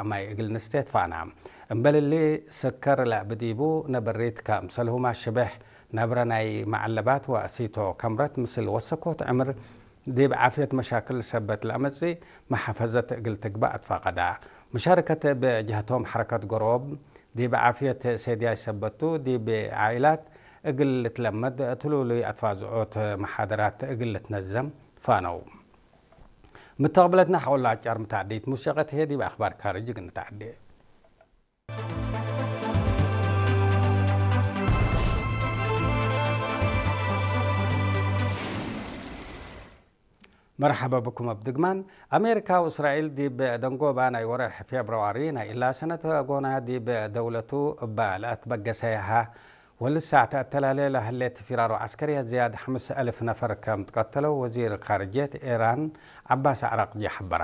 ማይ እግል ንስቴት ፋና። እምበልሊ ስከር ለብዲቡ ነበሪት ከም ሰልሁማ ሽበሕ ነብረ ናይ መዓለባት ወእሲቶ ከምረት ምስል ወሰኮት ዕምር ዲብ ዓፍየት መሻክል ሰበት ለመጽእ መሓፈዘት እግል ትግባእ ትፋቀዳ። ሙሻርከት ብጀህቶም ሐረከት ጎሮብ ዲብ ዓፍየት ሴድያይ ሰበቱ ዲብ ዓኢላት እግል ልትለመድ ትሉሉይ ኣትፋዝዖት መሓደራት እግል ልትነዘም ፋነው። ምተቕብለትና ሓወላ ጫር ምታዕዲት ሙሸቀት ሄ ዲብ ኣኽባር ካርጅ ግን ንታዕዲ። መርሓባ ብኩም ኣብ ድግማን። ኣሜሪካ ወእስራኤል ዲብ ደንጎባ ናይ ወርሕ ፌብርዋሪ ናይ እላ ሰነት ጎና ዲብ ደውለቱ እባ ለኣትበገሰ ያሃ ወልሳዕ ተእተላለ ለህሌት ፊራሮ ዓስከርያት ዝያድ ሓምስ ኣልፍ ነፈር ከም ትቀተለው ወዚር ካርጀት ኢራን ዓባስ ኣዕራቅጂ ሓበራ።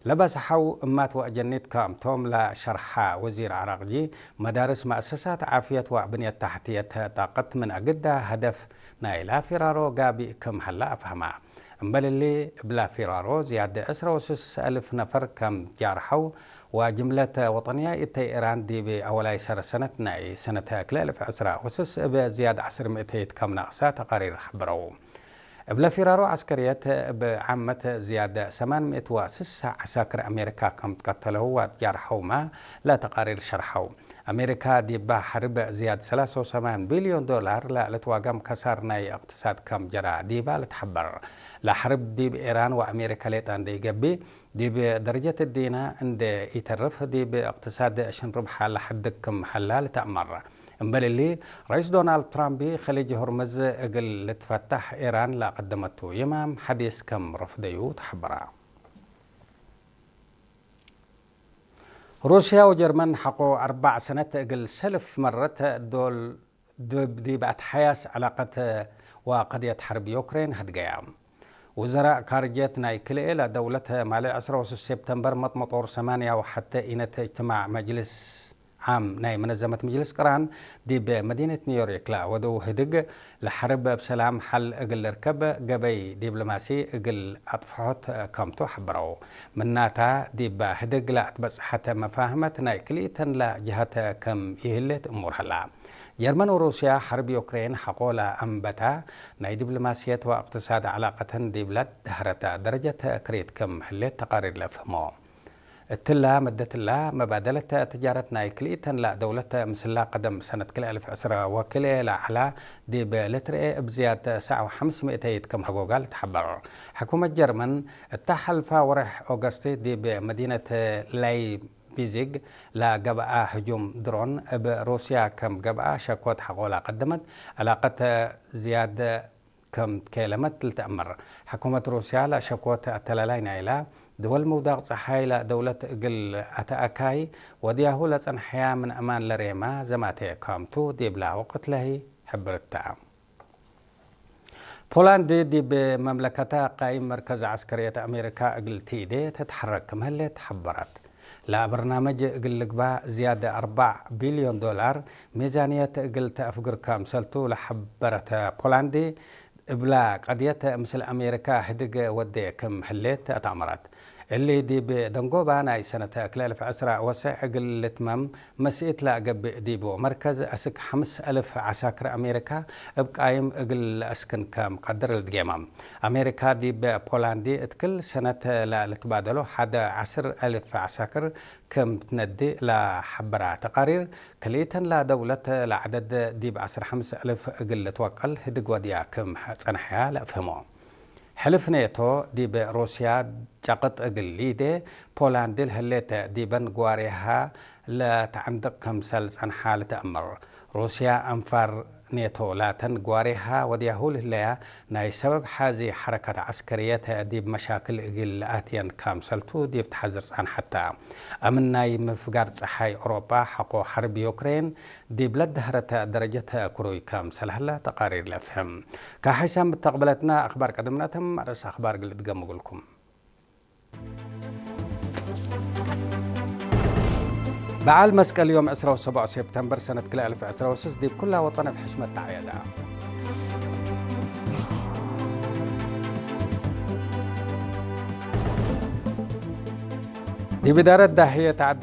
ለባስ ሓው እማት ወእጀኒት ከም ቶም ለሸርሓ ወዚር ኣዕራቅጂ መዳርስ መእሰሳት ዓፍየት ወብንየት ታሕትየት ጣቀት ምን ኣግዳ ሀደፍ ናይ ላፊራሮ ጋቢ ከም ሀላ ኣፍሃማ። እምበልሊ እብላ ፊራሮ ዝያደ ዕስራ ወስስ ኣልፍ ነፈር ከም ጃርሐው ወጅምለት ወጠንያ እተይ ኢራን ዲብ ኣወላይ ሰረ ሰነት ናይ ሰነተ ክልኤ ኣልፍ ዕስራ ወስስ እብ ዝያድ ዓስር ሚእተይት ከም ናቕሳ ተቃሪር ሓበረው። እብለ ፊራሮ ዓስከርየት እብ ዓመት ዝያደ ሰማን ሚእት ወስሳ ዓሳክር ኣሜሪካ ከም ትቀተለው ወጃርሐውማ ለተቃሪር ሸርሐው። ኣሜሪካ ዲባ ሐርብ ዝያድ ሰላሳ ወሰማን ቢልዮን ዶላር ለልትዋጋም ከሳር ናይ እቅትሳድ ከም ጀራ ዲባ ልትሐበር። ለሐርብ ዲብ ኢራን ወኣሜሪካ ሌጣ እንደ ይገቢ ዲብ ደረጀት ዲና እንደ ይተርፍ ዲብ እቅትሳድ ሽንርብሓ ለሐድግ ክም ሐላ ልተእመር። እምበልሊ ራይስ ዶናልድ ትራምፕ ኸሊጅ ሆርምዝ እግል ልትፈታሕ ኢራን ለቀደመቱ ይማም ሐዲስ ከም ረፍደዩ ተሐበራ። ሩስያ ወጀርመን ሐቆ ኣርባዕ ሰነት እግል ሰልፍ መረት ዶል ዲብ ኣትሓያስ ዕላቀት ወቀድየት ሐርብ ዩክሬን ሀድገያ። ውዘራእ ካርጀት ናይ ክልኤ ለደውለት ማሌ ዕስራ ወስስ ሴፕተምበር መጥመጦር ሰማንያ ወሐተ ኢነት እጅትማዕ መጅልስ ዓም ናይ መነዘመት መጅልስ ቅራን ዲብ መዲነት ኒውዮርክ ለወደው ህድግ ለሐርብ ብሰላም ሐል እግል ልርከብ ገበይ ዲብሎማሲ እግል ኣጥፍሖት ከምቱ ሐበረው። ምናታ ዲብ ህድግ ለኣትበጽሐተ መፋህመት ናይ ክልኢተን ለጅሃተ ከም ይህሌት እሙር ሀላ። ጀርመን ወሩስያ ሐርብ ዩክሬን ሐቆ ለኣንበታ ናይ ዲብሎማስየት ወእቅትሳድ ዕላቀተን ዲብላ ደህረተ ደረጀት ክሬት ከም ህሌት ተቃሪር ለፍህሞ። እትላ መደትላ መባደለት ትጃረት ናይ ክልኢተን ለደውለት ምስላ ቀደም ሰነት ክልኤ ኣልፍ ዕስራ ወክልኤ ለዓላ ዲብ ልትርኤ እብ ዝያድ ሰዓው ሓምስ ሚእተይት ከም ሐጎጋ ልትሐበር። ሕኩመት ጀርመን እታ ሐልፋ ወርሕ ኦገስት ዲብ መዲነት ላይፕዚግ ለገብኣ ህጁም ድሮን እብ ሩስያ ከም ገብኣ ሸኮት ሐቆ ለቀደመት ዕላቀት ዝያድ ከም ከየለመት ልትእመር። ሕኩመት ሩስያ ለሸኮት ኣተላላይ ናይላ ድወል ምውዳቕ ጸሓይ ለደውለት እግል ኣተኣካይ ወድያሁ ለጸንሐያ ምን ኣማን ለሬማ ዘማተ ካምቱ ዲብላ ወቅት ለሂ ሕብርታ። ፖላንድ ዲብ መምለከታ ቃይም መርከዝ ዓስከርየት ኣሜሪካ እግል ቲዴ ተትሐረክ ምህሌት ሐበረት። ለበርናመጅ እግል ልግባ ዝያደ ኣርባዕ ቢልዮን ዶላር ሚዛንየት እግል ተአፍግር ከምሰልቱ ለሐበረተ ፖላንድ፣ እብላ ቀድየት ምስል ኣሜሪካ ህድግ ወዴ ክም ህሌት ኣተእመረት። እሊ ዲብ ደንጎባ ናይ ሰነተ ክልኤ ኣልፍ ዕስራ ወሰዕ እግል ልትመም መስኢት ለገብእ ዲቡ መርከዝ አስክ ሐምስ አልፍ ዓሳክር ኣሜሪካ እብ ቃይም እግል ለአስክን ከም ቀድር ልድጌመ። ኣሜሪካ ዲብ ፖላንድ እት ክል ሰነት ለልትባደሎ ሐደ ዐስር አልፍ ዓሳክር ክም ትነድእ ለሐበራ ተቃሪር፣ ክልኢተን ለደውለት ለዐደድ ዲብ ዐስር ሐምስ አልፍ እግል ልትወቀል ህድግ ወድያ ክም ጸንሐያ ለአፍህሞ። ሕልፍ ኔቶ ዲብ ሩስያ ጨቅጥ እግል ሊዴ ፖላንድ ለህሌተ ዲበን ጓሬሃ ለተዐንድቅ ክምሰል ጸንሓ ልትአመር። ሩስያ አንፋር ኔቶ ላተን ጓሬሃ ወድያሁ ልህለያ ናይ ሰበብ ሓዚ ሐረካት ዐስከርየት ዲብ መሻክል እግል ለኣትየን ካምሰልቱ ዲብ ተሐዝር ጸንሐታ። ኣምን ናይ ምፍጋር ጸሓይ ኦሮጳ ሐቆ ሐርብ ዩክሬን ዲብ ለደህረተ ደረጀት ክሩይ ካምሰል ሀላ ተቃሪር ለፍህም። ካሕይሳ ምተቅበለትና ኣኽባር ቀደምናተም ርእስ ኣኽባር ግልጥ ገምጉልኩም። በዓል መስቀል ዮም ዕስራ ወሰቡዕ ሴፕተምበር ሰነት ክልተ ኣልፍ ዕስራ ወስስ ዲብ ኩላ ወጠን ኣብ ሕሽመት ተዓየዳ። ዲብ ኢዳረት ዳህየት ዓዲ